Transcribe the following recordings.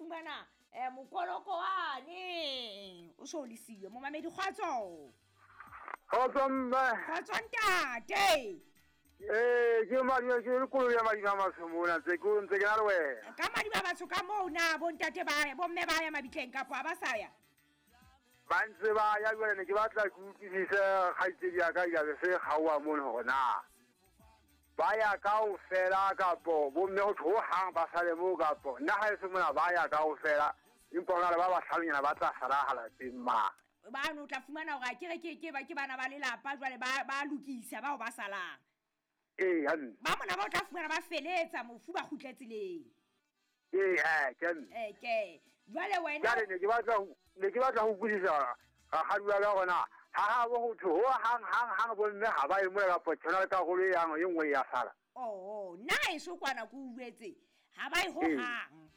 fumana um mokoloko wane o so o le siyo. Momamedi, kgotso. Kgotso mme. Kgotso ntate. Ee, ke madi ke koloi ya madi a matsho mona ntse ke ntse ke na le wena. Ka madi ba batsho ka moo na bontate ba ya bomme ba ya mabitleng kapo a ba sa ya? Ba ntse ba ya jwale ne ke batla ke utlwisise kgaitsedi ya ka diabe se kgaoha mono hore na ba ya kaofela kapo bomme ho thwe hohang ba sale moo kapo nna ha e se mona ba ya kaofela empa ho na le ba bahlalonyana ba tla sala ha lapeng ma. Bano o tla fumana hore akere ke ke ba ke bana ba lelapa jwale ba ba lokisa bao ba salang. Ee, hantle. Ba mona ba o tla fumana ba feletsa mofu ba kgutle tseleng. Ee, he, ke nna. Ee, ke. Jwale wena. Jwale ne ke batla ho ne ke batla ho utlwisisa rakgadi wa ka hore na ha habo ho thwe ho hang hang hang bomme ha ba ye mona kapa tjho na le karolo e yang e nngwe e ya sala. Oh, nna haeso kwana ke o jwetse ha ba ye ho hang.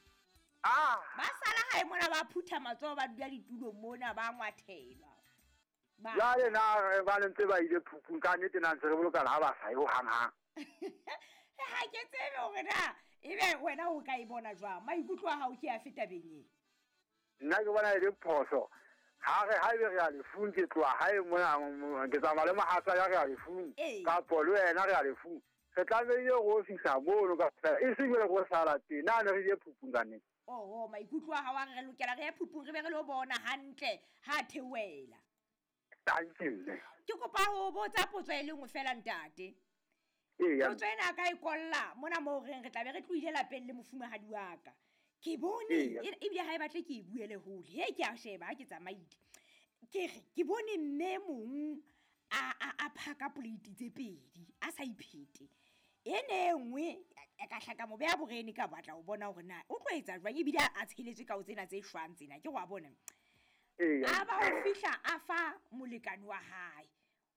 Ah. Ba sala hae mona ba phutha matsoho ba dula ditulong mona ba ngwathelwa. Ba. Jwale na ba ntse ba ile phupung ka nnete na ntse re bolokana ha ba sa ye ho hang hang. Ha ke tsebe hore na ebe wena o ka e bona jwang. Maikutlo a hao ke afe tabeng e? Nna ke bona e le phoso. Ha re haebe re ya lefung ke tloha hae mona ke tsamaya le mohatsa ya re ya lefung kapo le wena re ya lefung. Re tlamehile ro fihla mono ka fela e seng jwale ro sala teng. Na ne re ile phupung ka nnete? Oho, maikutlo a hao a re re lokela re ye phupung re be re lo bona hantle ha theohela. Thank you mme. Ke kopa ho botsa potso e le nngwe feela ntate. Eya. Potso ena a ka e kolla mona moo reng re tla be re tlohile lapeng le mofumahadi wa ka. Ke bone Eya. ebile ha e batle ke e buele hole. He ke a sheba ha ke tsamaile. Ke re ke bone mme mong a a a phaka plate tse pedi a sa iphete. Ene e nngwe ka hla ka mo beha borene ka batla ho bona hore na o tlo etsa jwang ebile a tsheletswe ka ho tsena tse shwang tsena ke wa bona. Eya. A ba o fihla a fa molekane wa hae.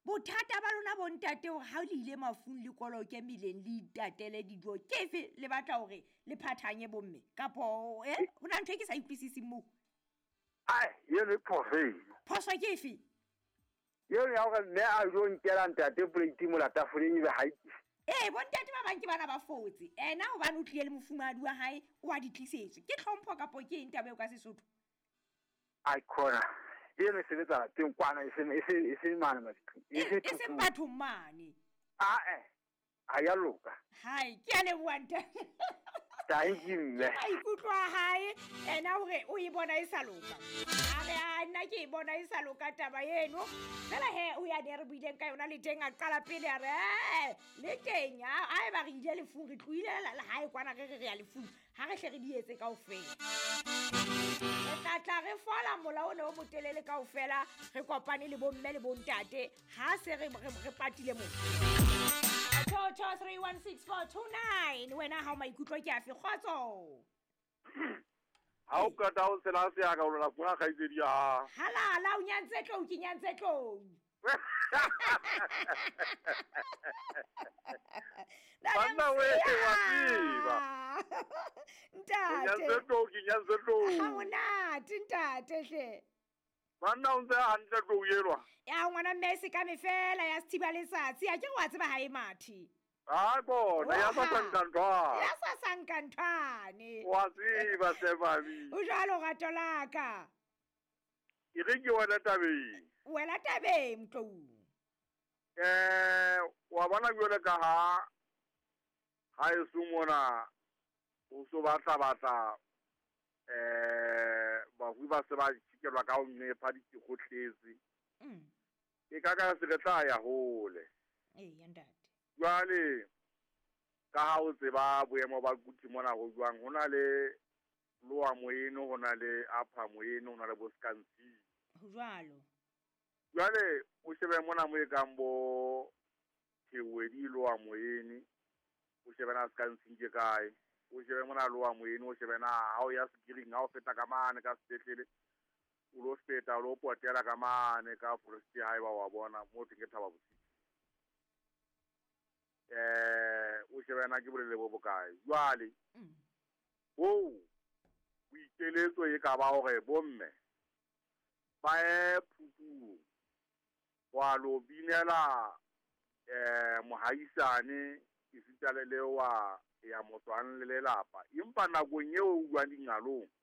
Bothata ba lona bontate hore ha le ile mafung le koloke meleng le itatele dijo ke efe le batla hore le phathanye bomme kapo eh ho na ntho e ke sa utlwisising moo. Ai, eno e phoso eno. Phoso ke efe? Eno ya hore mme a jo nkela ntate plate mola tafoleng ebe ha e tlise. Ee, bontate ba bang ke bana ba fotse. Ena hobane o tlile le mofumahadi wa hae o a di tlisetswe. Ke tlhompho kapo ke eng taba eo ka Sesotho? Ai khona. Eno e sebetsa lapeng kwana e seng e se e se mane mabitleng. E se E seng bathong mane. Ah eh. Ha ya loka. Hai, ke a leboha ntate. Thank you mme. Maikutlo a hae ena hore o e bona e sa loka. A re a nna ke e bona e sa loka taba eno. Fela he o ya ne re buileng ka yona le teng a qala pele a re eh le teng ha eba re ile lefung re tlohile la hae kwana re re re ya lefung ha re hle re di etse kaofela. Re tla tla re fola mola o ne o motelele kaofela re kopane le bomme le bontate ha se re re patile mo. 22316 wena ha o maikutlo ke afe kgotso. Ha o qeta ho tshela seaka o lola fumana kgaitsedi ya hao. Halala o nyantse tlou ke nyantse tlou. Banna we wa tseba. Ntate. Nyantse tlou ke nyantse tlou. Ha monate ntate hle. Banna o ntse hantle tlou elwa. Ya ngwana mme se ka me fela ya sethiba letsatsi a ke re wa tseba ha e mathe. Ha bona ya sa sankanthwane. Ya sa sankanthwane. Wa tseba Sefami. O jwalo rato la ka. E re ke wena tabeng. Wela tabeng tlou. Wa bona jwale ka ha ha eso mona o so batla batla bafu ba se ba tjhikelwa ka ho nnepa dikgotletse. E ka ka se re tla ya hole. Ee, ntate. Jwale ka ha o tseba boemo ba Kuthi mona ho jwang, ho na le Lower Moeno, ho na le Upper Moeno, ho na le bo Skansi. Ho jwalo. Jwale o shebe mona mo e kang bo Thewedi Lower Moeno, o shebe na Skansi ke kae, o shebe mona Lower Moeno, o shebe na ha o ya Sekiring, ha o feta ka mane ka sepetlele, o lo feta o lo potela ka mane ka forest haeba wa bona mo teng ke Thaba Bosiu. O shebe na ke bolele bo bokae. Jwale bo boikeletso e ka ba hore bomme ba ye phupung wa lo binela mohaisane esita le le wa ya motswang le lelapa, empa nakong eo o buang dingalong